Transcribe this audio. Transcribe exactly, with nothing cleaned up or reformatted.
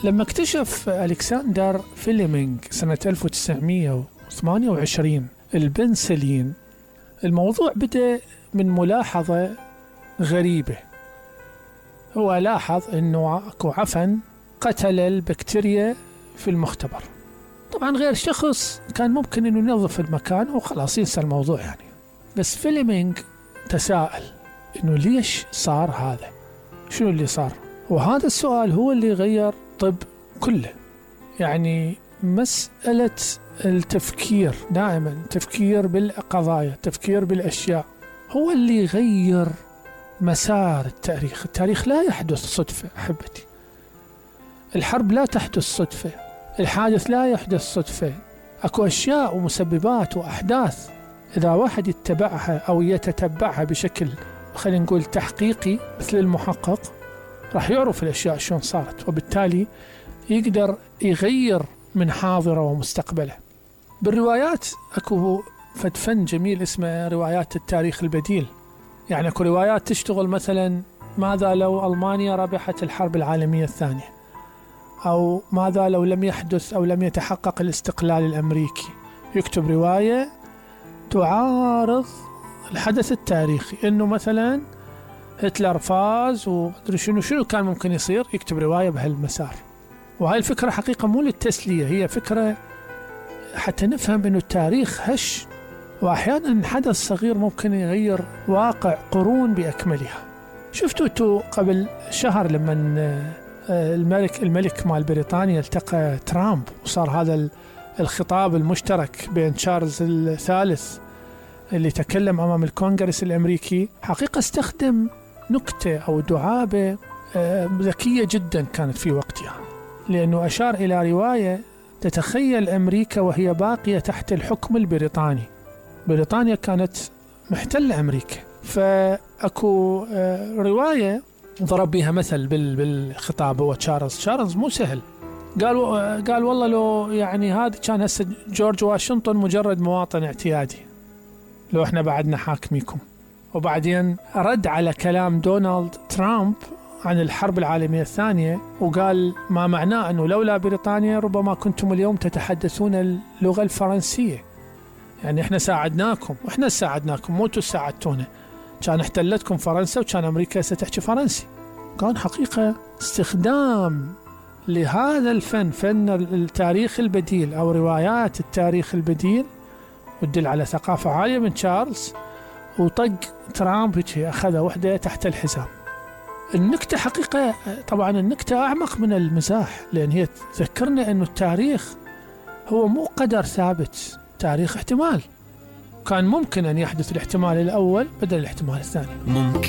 لما اكتشف ألكسندر فليمنج سنة ألف وتسعمئة وثمانية وعشرين البنسلين، الموضوع بدأ من ملاحظة غريبة. هو لاحظ أنه أكو عفن قتل البكتيريا في المختبر. طبعا غير شخص كان ممكن أنه ينظف المكان وخلاص ينسى الموضوع يعني، بس فليمنج تساءل أنه ليش صار هذا؟ شنو اللي صار؟ وهذا السؤال هو اللي غير طب كله. يعني مسألة التفكير، دائما تفكير بالقضايا، تفكير بالأشياء، هو اللي غير مسار التاريخ. التاريخ لا يحدث صدفة أحبتي، الحرب لا تحدث صدفة، الحادث لا يحدث صدفة. أكو أشياء ومسببات وأحداث إذا واحد يتبعها أو يتتبعها بشكل خلينا نقول تحقيقي مثل المحقق، راح يعرف الأشياء شلون صارت، وبالتالي يقدر يغير من حاضره ومستقبله. بالروايات أكو فن جميل اسمه روايات التاريخ البديل. يعني أكو روايات تشتغل مثلا ماذا لو ألمانيا ربحت الحرب العالمية الثانية، أو ماذا لو لم يحدث أو لم يتحقق الاستقلال الأمريكي. يكتب رواية تعارض الحدث التاريخي، إنه مثلا هتلر فاز ومدري شنو شنو كان ممكن يصير، يكتب رواية بهالمسار. وهاي الفكرة حقيقة مو للتسلية، هي فكرة حتى نفهم إنه التاريخ هش، وأحيانا حدث صغير ممكن يغير واقع قرون بأكملها. شفتوا تو قبل شهر لما الملك الملك مال بريطانيا التقى ترامب، وصار هذا الخطاب المشترك بين تشارلز الثالث اللي تكلم أمام الكونغرس الأمريكي. حقيقة استخدم نكتة أو دعابة ذكية جدا كانت في وقتها، لأنه أشار إلى رواية تتخيل أمريكا وهي باقية تحت الحكم البريطاني. بريطانيا كانت محتلة أمريكا، فأكو رواية ضرب بها مثل بالخطاب. هو تشارلز تشارلز مو سهل، قال قال والله لو يعني هذا كان هسه جورج واشنطن مجرد مواطن اعتيادي لو احنا بعدنا حاكميكم. وبعدين رد على كلام دونالد ترامب عن الحرب العالمية الثانية، وقال ما معناه أنه لولا بريطانيا ربما كنتم اليوم تتحدثون اللغة الفرنسية. يعني احنا ساعدناكم، واحنا ساعدناكم، مو انتوا ساعدتونا. كان احتلتكم فرنسا وكان أمريكا ستحكي فرنسي. كان حقيقة استخدام لهذا الفن، فن التاريخ البديل أو روايات التاريخ البديل، ودل على ثقافة عالية من تشارلز. وطق ترامب أخذ وحدة تحت الحزام. النكتة حقيقة طبعا النكتة أعمق من المزاح، لأن هي تذكرنا أنه التاريخ هو مو قدر ثابت، تاريخ احتمال. كان ممكن أن يحدث الاحتمال الأول بدل الاحتمال الثاني. ممكن